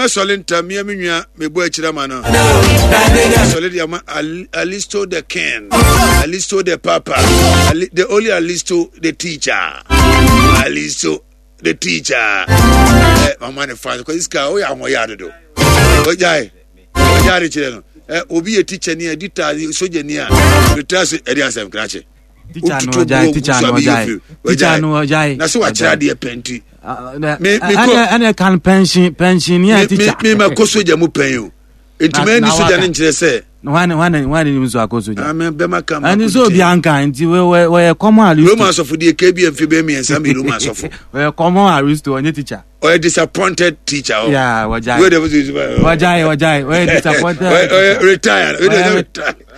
Mɛsɔle ntam mea me nua mebɔ akyiri ama no. Sɔle de ama Alisto the king, Alisto the papa, Ali, the only Alisto the teacher, Alisto the teacher. Eh, mama ne fa kɔ sika o yɛ ahoɔyɛ adodo. Ogyae, ogyae de kyerɛ no. Eh, obi yɛ teacher ni a, dita soja ni a, retire so ɛde asɛm krakye. Teacher no ɔgyae, teacher no ɔgyae, teacher no ɔgyae. Na so wakyerɛ adeɛ pɛ nti. Ɛna kan pension pension ni a teacher. Mi ma kɔ soja mu pɛn o. Nti mɛ ni soja ne nkyerɛ sɛ. Wani wani wani ni nso akɔ soja. Ame bɛma kan ma Ɛni sɛ obi anka nti wɔyɛ common aristo. Roma asɔfo deɛ kebi mfe bɛyɛ mmiɛnsa mi Roma asɔfo. Wɔyɛ common aristo ɔnyɛ teacher. Ɔyɛ disappointed teacher. Oh. Yeah, wɔgyae. Wɔgyae wɔgyae wɔyɛ disappointed. Ɔyɛ retired.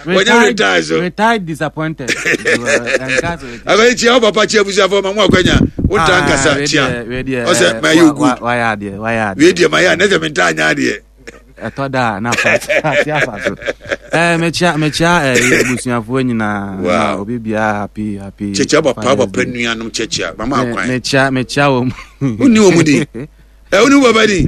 Wɔnyɛ retired so. Retired disappointed. Akɔyɛ kyia wo papa kyia abusuafo ma mo akwanya wo ntaa nkasa kyia. Ɔsɛ ma yɛ good. Wayɛ adeɛ wayɛ adeɛ. Wei deɛ ma yɛ a ne sɛ mentaa nyɛ adeɛ. Ɛtɔ da a na afa ate afa so. Ɛɛ mekyia mekyia ɛɛ abusuafoɔ nyinaa. Wow. Obi biara happy happy. Kyɛkyɛ papa papa nuanom kyɛkyɛ mama akwan. Mekyia mekyia wɔn. Wonni wɔn di. Ɛ wonni papa di.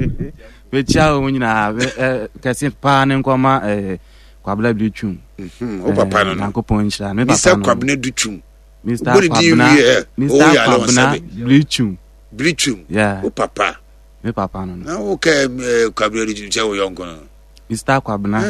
Mekyia wɔn nyinaa ɛ kɛse paa ne nkɔma ɛɛ Kwabena Dutwum. Mhm, wo papa no no. Nyankopɔn nhyira me papa no. Mr. Kwabena Dutwum. Mr. Kwabena Mr. Kwabena Dutwum. Dutwum. Yeah. Wo papa. Me papa no no. Na wo kɛ eh, Kwabena Dutwum sɛ wo yɔnko no. Mr. Kwabena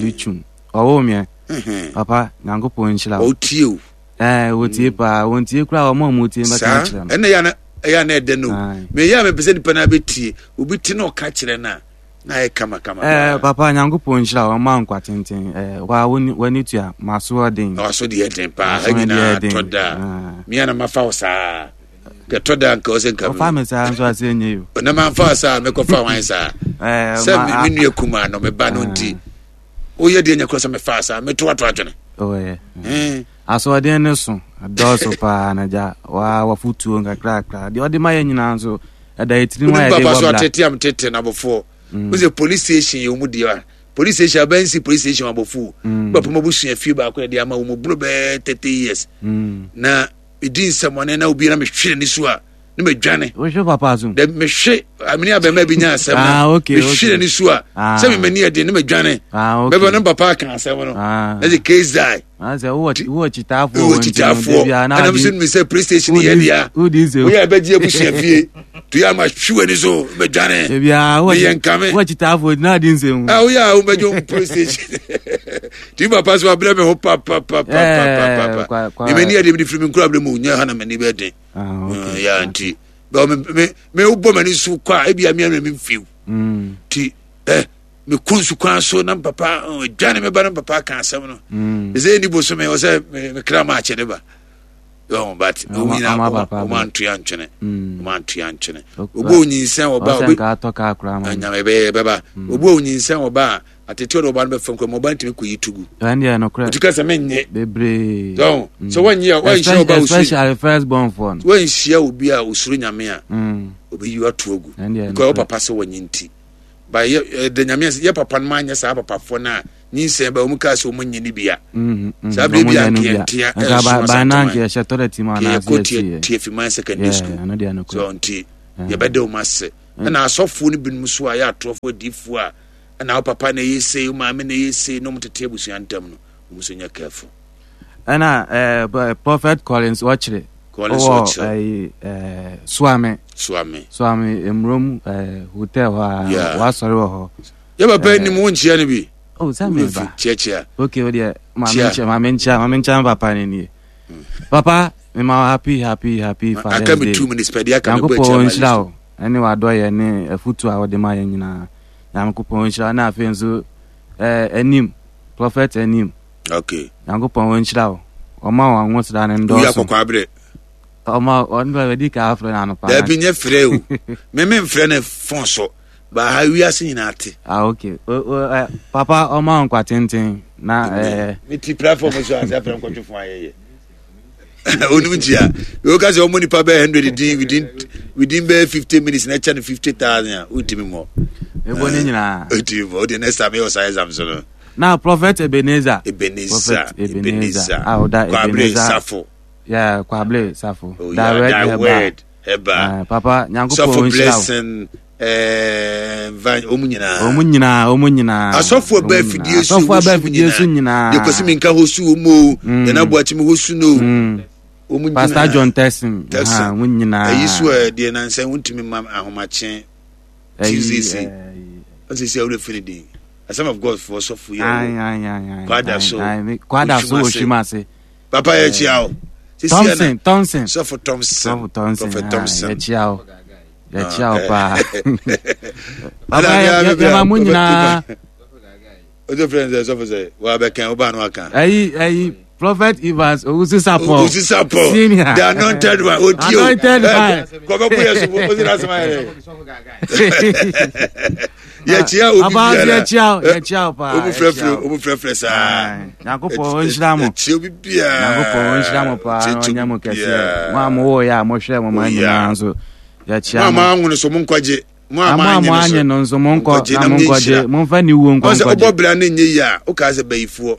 Dutwum. Ɔwɔ meɛ. Papa Nyankopɔn nhyira wo. Ɔtie o. Ɛɛ wɔtie paa wɔntie koraa wɔn a wɔtie bɛka akyerɛ no. Ɛna ɛyɛ na ɛdɛ no. Meyɛ a mepɛ sɛ nipa no abɛtie. Obi te na ɔka kyerɛ no a na ayɛ kama kama. Ɛɛ papa Nyankopɔn nhyira wo ɔma nkwa tenten. Ɛɛ wa w'ani tua maso ɔden. Na waso deɛ den paa ha nyinaa tɔ da. Mea na mafa wo saa. Kɛtɔ da nka ɔsɛ nka. Ɔfa me saa nso ase enye yo. Na manfa wo saa mekɔfa wan saa. Sɛ me nua kumaa no me ba no nti. Woyɛ deɛ nyɛ korɔ sɛ mefaa saa meto ato adwene. Ɔyɛ. Asoɔden no so dɔɔso paa na gya waa wafotuo nkakrakra deɛ ɔde ma yɛ nyinaa nso ɛda yɛ tirim a yɛde bɔ bra. Papa so atete am tete na abɔfoɔ. Wo sɛ police station yɛ wɔn deɛ police station abɛnsi police station abɔfoɔ. Papa mo abusua fie baako yɛ de ama wɔn buro bɛɛ 30 years. Na medi nsɛmɔne na obi na mehwe n'ani so a ne madwane. Wohwe papa so. Dɛ mehwe amene abɛma bi nya asɛm na ah, okay, mehwe n'ani so a ah. sɛ memani ɛden ne madwane. Ah, okay. Bɛbɛ no papa aka asɛm no. Ah. Na sɛ case die. Ah, sɛ wowɔ wowɔ kyitaafoɔ wowɔ kyitaafoɔ ɛna mesɛ no sɛ playstation yɛ dea woyɛ bɛgye abusua fie to yɛ ama hwe w'ani so bɛdwane meyɛ nkame wowɔ kyitaafoɔ na adi nsɛm ah, woyɛ a wobɛgye wo playstation nti papa so wabrɛ me ho papapapapapa memani ɛde mede firi me nkura berɛ mu nyɛ ha na m'ani bɛden ah, ya nti me wobɔ m'ani so kɔ a ebia mea na memfiw mm. nti eh, mekɔ nsu kwan so na papa dwane me ba no papa ka asɛm no mm. ɛsɛ ɛni bosome wɔ sɛ mekra ma akyɛ ne ba yɔn but wɔn nyinaa wɔn antoa ntwene wɔn antoa ntwene obi onyinsɛn ɔba obi anyame bɛyɛ bɛba obi onyinsɛn ɔba a atete ɔde ɔba no bɛfam kura ma ɔba ntumi kɔ yi tugu. Ɛn deɛ nokorɛ. Otu ka sɛ menyɛ. Bebree. Dɔn mm. sɛ wɔnyɛ a wɔnhyia ɔba osuro. Especially first born foɔ no. Wɔnhyia obi a osuro nyame a. Mm. Obi yi ato agu. Ɛn deɛ nokorɛ. Because papa sɛ wɔnyɛ nti. Ba yɛ ɛdɛ nyame ase yɛ papa no ma anyɛ saa papafoɔ no a nyinsɛn ba wɔn kaa sɛ wɔn nyɛ ne bia. Mm, Saa bere bi a nkeɛ ntea ɛnso asantuma. Yɛhyɛ toilet mu anaasɛ yɛkɔ tie tie secondary school. So nti yɛbɛda wɔn ase. Ɛna asɔfoɔ no binom so a yɛ atorɔfoɔ adiifoɔ a ɛna wo papa na ɛyɛ sei wo maame na ɛyɛ sei na wɔn tete abusua ntam no wɔn nso nyɛ careful. ɛna ɛɛ eh, prophet collins ɔkyerɛ collins ɔkyerɛ ɛɛ eh, suame suame suame emurom ɛɛ eh, hotel hɔ a wasɔre wɔ hɔ. yɛ papa anim wo nkyia no bi. o sɛ mi ba kyiakyia. ok o deɛ maame nkyia maame nkyia maame nkyia papa ne nie papa mi ma happy happy happy father's day aka mi 2 minutes pɛ deɛ aka mi bɔ nyankopɔn nhyira o ɛne wadɔyɛ ne afutu a wɔde ma yɛn nyinaa. Nyankopɔn nhyira na afei nso eh, anim prophet anim. Okay. Nyankopɔn nhyira wo. Ɔma wɔn ahosra no ndɔɔso. Wuya kɔkɔ abrɛ. Ɔma ɔno bɛ bɛdi ka afrɛ no anɔpa. Dabi nyɛ frɛ o. Me me mfrɛ no fon so. Ba ha wiase nyinaa te. Ah okay. O, o, eh, papa ɔma wo nkwa tenten na eh. Me ti platform so ansa frɛ nkɔtwe fon ayɛyɛ. Onim ntia. Wo ka sɛ ɔmo nipa bɛyɛ 100 din within bɛyɛ 50 minutes na ɛkyɛ no 50,000 a wontumi mmɔ. Ebo ne nyinaa. Wontumi mmɔ. Wode next time yɛ ɔsa exam so no. Na Prophet Ebenezer. Ebenezer. Prophet Ebenezer. A ɔda Kwabere Ebenezer. Safo. Yeah, Kwabere Safo. Oh, yeah, Direct that Herbal. word. Herbal. Papa, Nyankopɔn Safo nhyira wo. blessing. Ɛɛ wɔn nyinaa. Wɔn nyinaa wɔn nyinaa. Asɔfo ɛbɛ afidie so asɔfo ɛbɛ afidie so nyinaa. Deɛ kwasi mi nka hɔ su wɔn o. Yɛn abo akyi mi hɔ su no. Wɔn nyinaa. Pastor John Tessin. Tessin wɔn nyinaa. Ɛyi so ɛ deɛ nansa wɔn ma ahomakye. Tuesday si. Ɔsi si awura fini din. Assemblies of God fo sɔfo yɛ o. Kwada so. Kwada so Oshimase. Papa yɛ kyia o. Thompson Thompson. Sɔfo Thompson. Sɔfo Thompson. Prophet Thompson. Yɛ kyia o. Yɛ kyia o paa. Papa yɛ yɛ ma mo nyinaa. O tó fɛn sɛ sɔfo sɛ wa bɛ kɛn o b'a n'o kan. Ayi ayi Prophet Evans Owusu Sapɔ. Owusu Sapɔ. Senior. The anointed one. O di o. Anointed one. Kɔfɛ bóyá so o sira sama yɛrɛ. Yɛkyia obi biara. Yɛkyia o yɛkyia o paa. Omu frɛfrɛ omu frɛfrɛ saa. Nyankopɔn ɔnhyira mo. Yɛkyia obi biara. Nyankopɔn ɔnhyira mo paa na ɔnyɛ mo kɛseɛ. Mo a mo wɔ yɛ a mo hwɛ mo ma nyinaa nso. Yɛkyia mo. Mo a mo anwono so mo nkwagye. Mo a mo anye no nso mo nkɔ na mo nkɔgye. Mo nfa ni wuo nkɔ nkɔgye. Ɔsɛ ɔbɔ bra ne nye yie a ɔka sɛ bayifoɔ.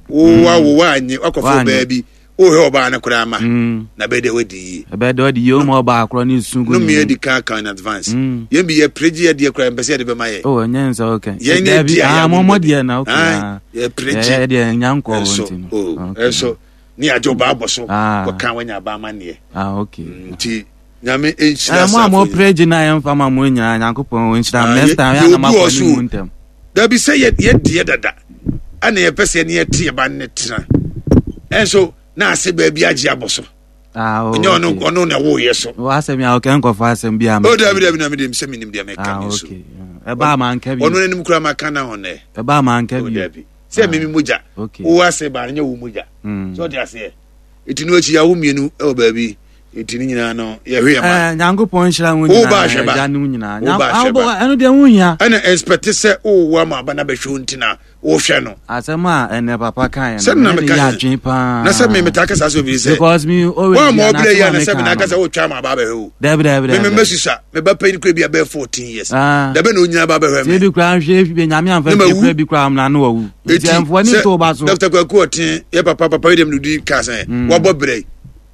Wo wa wo wa anye wakɔfo baa bi. Wohwɛ ɔbaa no koraa ma mm. na bɛyɛ dɛ wadi yie. Ɛbɛyɛ dɛ wadi yie o ma ɔbaa korɔ ne su gu ne mu. Nnome adi kan kan in advance. Mm. Yɛn bi yɛ pere gye yɛ deɛ koraa yɛn pɛ sɛ yɛde bɛma yɛ. O ɛnyɛ nsɛ o kɛ. Yɛn ne di a yɛ mo mo deɛ na o kɛ. Yɛ pere gye. Yɛ deɛ nya nkɔ wɔn ti no. O ɛnso ne yagye ɔbaa bɔ so. Kɔka wanya aba ama neɛ. Ah okay. Mm, nti nyame nhyira saa. Mo a mo pere gye na yɛn fa ma mo nyinaa nyankopɔn nhyira. Next time yɛn anam akɔ ne mu ntɛm. Dabi sɛ yɛ yɛ deɛ dada ɛna yɛpɛ sɛ yɛne yɛte yɛ ba ne tena ɛnso na ase baabi agye abɔ so ah, oh, ɛnyɛ ɔno ɔno na ɛwɔ yɛ so. wɔ asɛm yà ɔkɛ nkɔfɔ asɛm bi ama. o dabi dabi na mi de sɛ mi nim deɛ mi ka ah, mi nso. ɛba ama nka bi. ɔno n'anim kura ma ka na ɔnɛ. ɛba ama nka bi. o dabi sɛ mi mi mogya. wo ase ba nyɛ wo mogya. Hmm. sɛ ɔde aseɛ eti no akyi yawo mmienu ɛwɔ baabi eti ne nyinaa no yɛhwɛ yɛ ma. ɛɛ nyankopɔn nhyira ho nyinaa ɛgya ne ho nyinaa. Wo ba ahwɛ ba. Ɛno deɛ ho hia. Ɛna expect sɛ wowo ama aba na bɛhwɛ wo nti na wohwɛ no. Asɛm a ɛnɛ papa kan yɛ no. Sɛ na meka yɛ adwene paa. Na sɛ me metaa kasa sɛ obi sɛ. Because me always bi a na sɛ ma meka no. Na sɛ wotwa ama aba abɛhwɛ wo. Dabi dabi dabi. Me me mɛsusa me ba panyin kura bi a bɛyɛ 14 years. Ah. Dabi na onyina ba abɛhwɛ me. Ti bi kura nhwɛ bi nyame anfa bi kura bi kura na no wawu. Nti ɛnfoɔ ne nto ba so. Dr. Kwaku Ɔten yɛ papa papa yi dem no di ka sɛ mm. wabɔ brɛ.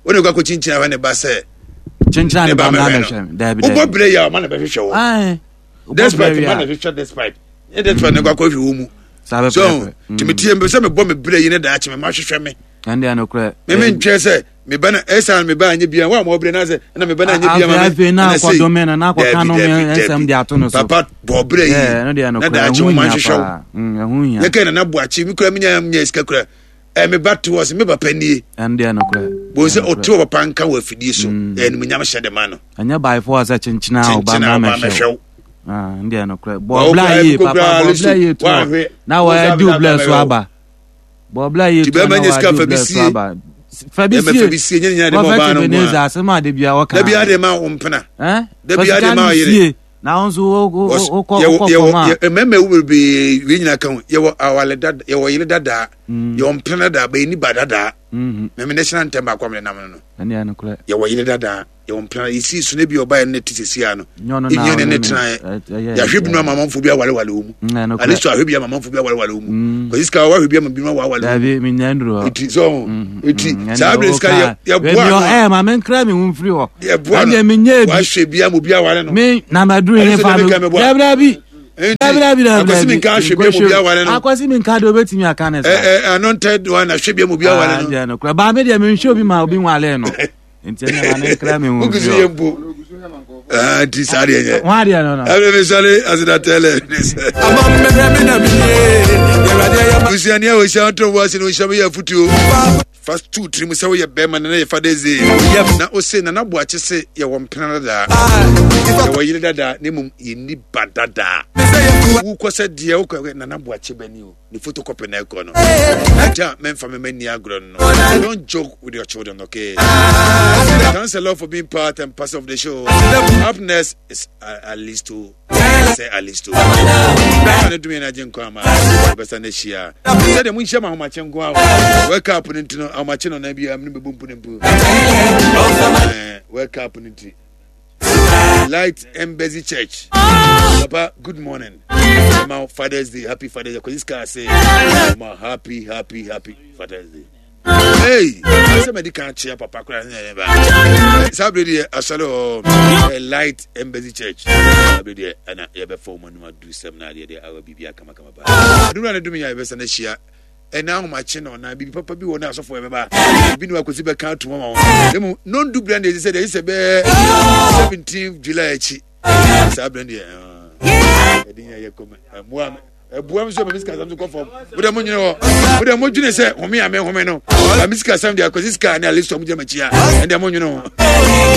Wo ne kɔ akɔkyinkyin ahwɛ ne ba sɛ kyenkyen ne ba ma bɛhwɛ me dabi dabi wobɔ brɛ yɛ a ɔma na bɛhwehwɛ wo despite ma na hwehwɛ despite nyɛ despite na kɔ akɔhwɛ wo mu so tìmí tie mbɛ sɛ mebɔ me brɛ yi ne daakye me ma hwehwɛ me ɛnde ɛno korɛ meme ntwɛ sɛ me ba na ɛsan me ba anyɛ bia wa ma ɔbrɛ na sɛ ɛna me ba na anyɛ bia ma me afei na akɔdome no na akɔka no me nsɛm de ato no so papa bɔ brɛ yi na daakye wo ma nhwehwɛ wo yɛkɛ na na boakye me kura menya nya sika kura ɛ me ba te hɔ sɛ me papa nie. Ɛno deɛ nokorɛ. Bon sɛ ɔte wɔ papa nka wɔ afidie so mm. ɛyɛ animuonyam hyɛ de ma no. Ɛnyɛ by force sɛ kyenkyena a ɔba mma mɛhwɛ wo. Ah, ɛno deɛ nokorɛ. Bɔɔbla yie papa bɔɔbla yie to hɔ na wɔadi wo blɛ so aba. Bɔɔbla yie to hɔ na wɔadi wo blɛ so aba. Fabi sie Prophet Ebenezer asɛm a de bia wɔka. Dabi ade ma wo mpena. Dabi ade ma ɔyere. Na wo nso wokɔ fam a. Mmarima ewu bebree wei nyinaa ka ho yɛwɔ awale dada yɛwɔ yere dadaa mm. yɛwɔ mpena dadaa bɛyɛ ni ba dadaa mɛmɛ mm-hmm. national anthem baako amene nam no no yɛwɔ yere dadaa yɛwɔ mpena yɛsi so ne bi ɔba yɛn ne te sisi ano enyo ne ne tena yɛ yɛahwɛ bi no ama amanfo bi awalewale wɔ mu mm, ane so ahwɛ bi ama amanfo bi awalewale wɔ mu mm. kwasi sika wahwɛ bi ama bi ma wawale wɔ mu eti so eti saa abiri sika yɛ boa no ɛɛ maame nkira mi ho nfiri hɔ yɛ boa no wahwɛ bi ama obi awale no mi na ma duru yɛn fa no dabi dabi dabi akwasi mi nka ahwɛ bi ama obi awale no akwasi mi nka de obetumi aka ne sa ɛɛ ɛɛ anointed one ahwɛ bi ama obi awale no ɛɛ no baa mi deɛ mi nhwɛ obi ma obi nwale no nti ɛna ma ne nkira mi ho nfiri hɔ mpo nti saa deɛ nyɛ ho adeɛ no no ɛbɛ mi sɔre aseda tɛlɛ ne sɛ busuani a wɔhyia ɔtɔ wɔ ase no wɔhyia bɛyɛ afutuo fa tu tirim sɛ woyɛ bɛrima na yɛ Father's Day na ose Nana Boakye se yɛwɔ mpena dadaa yɛwɔ yere dadaa na mmom yɛnni ba dadaa wokɔ sɛ deɛ wokɔ Nana Boakye bɛni o ne photocopy na ɛkɔ no agya mɛmfa me mani agorɔ no don't joke with your children okay thanks a lot for being part and parcel of the show up next is Alisto sɛ Alisto ne dumi na agye nkwa ama bɛsa no ahyia sɛdeɛ monhyia ma ahomakye nko a wake up no nti no ahomakye no na bia mene bɛbɔ mpu ne mpu wake up no nti Light Embassy Church. Papa, good morning. My Father's Day, happy Father's Day. Because this car say, happy, happy, happy Father's Day. Hey, asɛ madi kan akyea papa koraa ne ɛyɛ ba. Saa bere deɛ asɔre hɔ Light Embassy Church. Saa bere deɛ ɛna yɛbɛfa wɔn anim adu sɛm na adeɛ deɛ awa biribi akamakama paa. Adumra ne dum yɛ a yɛbɛsa no ahyia ɛna ahomakye na ɔna biribi papa bi wɔ ne asɔfo ɛbɛba ebi ne wakosi bɛka atum ama wɔn. Emu nondu bere deɛ ɛsɛ deɛ ɛsɛ bɛɛ 17 July akyi. Saa bere deɛ ɛde nyɛ yɛ kɔmɛ ɛmoa ɛboa mi sɛ mami sika asɛm so kɔ fam mo dɛ mo nyere hɔ mo dɛ mo dwene sɛ home a me home no mami sika asɛm deɛ akwasi sika ne alistɔ mo gyina m'akyi a ɛndeɛ mo nwene ho.